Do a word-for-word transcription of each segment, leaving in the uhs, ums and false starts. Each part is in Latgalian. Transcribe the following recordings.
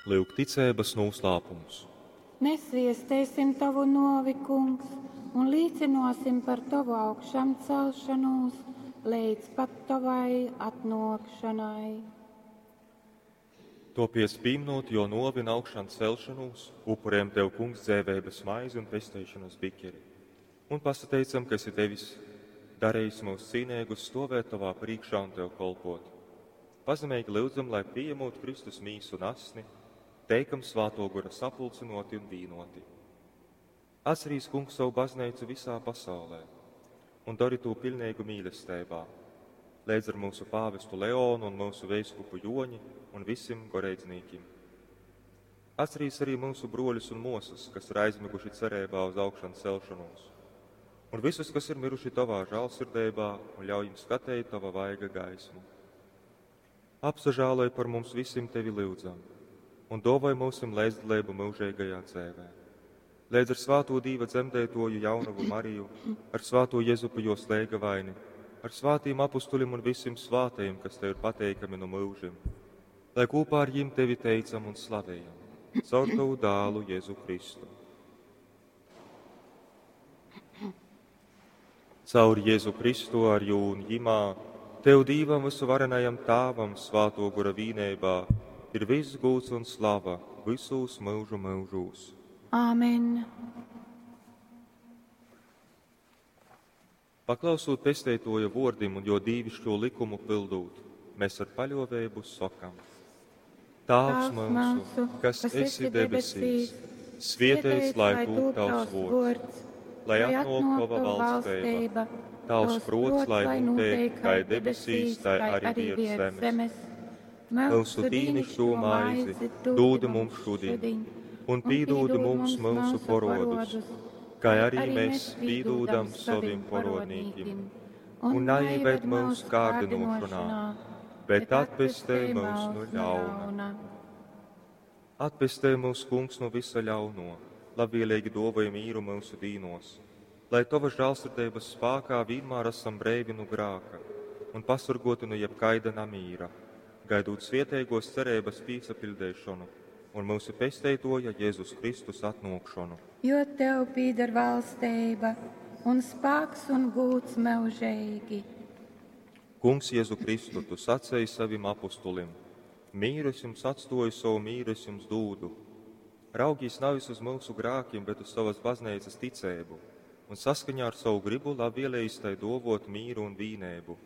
Lyuk ticeibas nūslāpums. Mēs viesteisim Tovu nōvi, Kungs, un līcynōsim par Tovu augšamcelšanūs leidz pat Tovai atnōkšanai. Topiec pīminot jo nōvi un augšan celšanūs, upurējam Tev, Kungs, dzeiveibas maizi un pesteišanas bikeri. Un pasateicam, ka esi devis darījis mūs cīneigus stovēt Tovā priekšā un Tev kolpot. Pazemeigi lyudzam, lai pieņemot Kristus mīsu un asni, teikam Svāto Gora sapulcinoti un vīnoti. Atcerīs, Kungs, savu baznīcu visā pasaulē un dari to pilnīgu mīlestībā, līdz ar mūsu pāvestu Leonu un mūsu veiskupu Joņi un visiem goreidznīkim. Atcerīs arī mūsu broļus un mosas, kas ir aizmiguši cerībā uz augšanu celšanos, un visus, kas ir miruši Tavā žālsirdībā, un ļauj jums skatīt Tava vaiga gaismu. Apsažāloj par mums visiem Tevi lūdzam, un dāvāj mūsim līdzdalību mūžīgajā dzīvē. Līdz ar svāto Dīva dzemdētoju jaunavu Mariju, ar svāto Jezupu jo slēgavaini, ar svātīm apustulim un visiem svātajiem, kas Tev ir pateikami no mūžiem, lai kopā ar jim Tevi teicam un slavējam, caur Tavu dālu Jēzu Kristu. Caur Jēzu Kristu ar jū un jimā, Tev Dīvam visuvarenajam Tāvam svāto gora vīnībā ir viss gūts un slava visos mūžu mūžos. Āmen. Paklausot pesteitoja vordim un jo dīvišķo likumu pildūt, mēs ar paļovēbu sokam. Tāvs mūsu, kas esi debesīs, svietēts lai tūp tavs vords, lai atnāk tava valstība, tavs prots, lai notiek kā debesīs, tā arī virs zemes. Mūsu dīnišķo maizi dūdi mums šodien, un pīdūdi mums mūsu porodus, kā arī mēs pīdūdam saviem porodnīkim. Un neieved mūsu kārdinošanā, bet atpestē mūs no ļauna. Atpestē mūs, Kungs, no visa ļauno, labvēlīgi dāvāj mīru mūsu dīnos, lai Tava žēlsirdības spēkā vienmēr esam breivi no grāka un pasargoti no jebkaida namīra, gaidot svietēgos cerības pīsapildēšanu un mūsu pesteitoja Jēzus Kristus atnākšanu. Jo Tev pīder valstība un spēks un gūts mūžīgi. Kungs Jēzu Kristu, Tu sacēji savim apustulim, mīru es jums atstoju, savu mīru es jums dūdu. Raugīs nevis uz mūsu grākiem, bet uz savas baznīcas ticēbu, un saskaņā ar savu gribu labvēlējis tai dovot mīru un vīnēbu,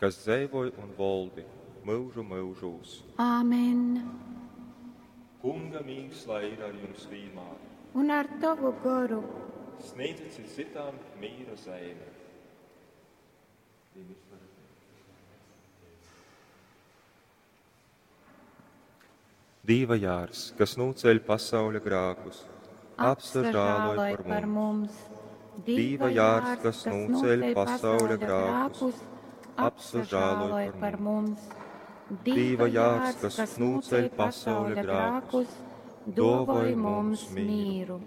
kas dzēvoj un voldi mūžu mūžūs. Āmen. Kunga mīgs, lai ir ar jums vienmēr. Un ar tavu goru. Sniedziet cit citām mīra zeimi. Dīva jārs, kas nūceļ pasauļa grākus, apsažāloj par mums. Dīva jārs, kas nūceļ pasauļa grākus, apsažāloj par mums. Dīva jārs, kas nūceļ pasauļa grākus, dāvāj mums mīru.